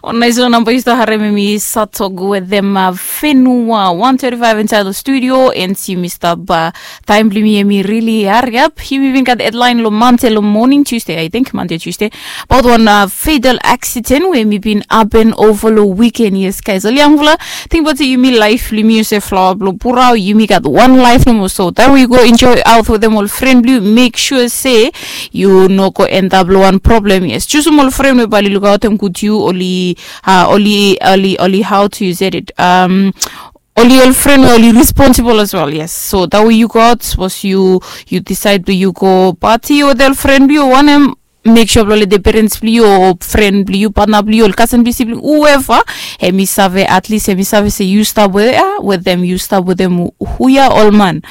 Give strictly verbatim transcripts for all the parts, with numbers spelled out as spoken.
Wan nais long namba yu stap harim em i satok wetem fenua one thirty five insait long studio. And yumi stap taim blong yumi em i rili hariap. Yumi bin gat hedlain long mante long moning tuesday, I think mante tuesday, abaot wan fatal aksiden we em i bin hapen ova long wiken. Yes, guys, ol yangfala, tingbaot se yumi laif blong yumi olsem flawa blong purao, yumi gat wan laif nomo. So taim we yu go enjoy aot wetem ol fren blong yu, mek sua se yu no go endap long wan problem. Yes, jusum ol fren we bae oli lukaotem gud yu, oli, oli oli oli how to use it, oli ol fren we oli responsibol as well. Yes, so tawe yu got sapos yu, yu disaed blong yu go pati wetem ol fren blong yu o wanem, mek sua blong letem perens blong yu o fren blong yu, patna blong yu, ol kasen blong yu, sibling, hueva, em i save, atlis em i save se yu stap wetem, wetem yu stap wetem hu ya ol man.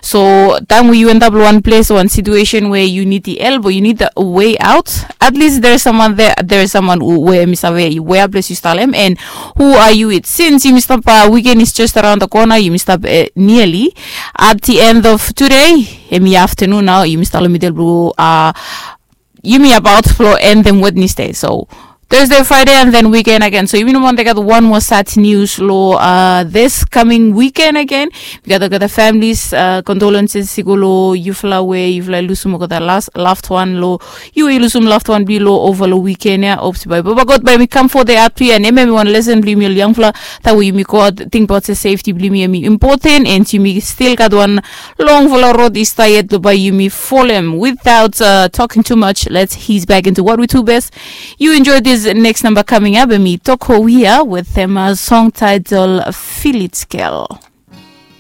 So taim we yu endap long wan ples o wan situesen we yu nid i help o yu nid a wei aot, atlis there is someone there, there is someone we em i save wea ples yu stap long em. And hu a yu wit, sins yumi stap, wiken is just araon da kona, yumi stap niali at the end of tude, em i aftenun nao, yumi stap long midel blong yumi abaot blong endem wednesday. So thursday, friday and then wiken agen. So yumi no man gat wan moa sad nius long this coming wiken agen. Mi gat olgeta familis, condolences i go long yufala we yufala i lusum olgeta last loved one long, yu we yu lusum loved one blong yu long ova long wiken ya. Opsi bae baba god bae mi kam fo de at blong yu and em em i wan lesen blong yumi ol yangfala. Tawe yumi go aot, tingbaot se sefti blong yumi em i impoten and yumi stil gat wan longfala rod i stap yet long bae yumi folem without talking too much. Let's he's back into what we do best. You enjoy this next number coming up, and me Toko Wia with them song title Feel It Girl.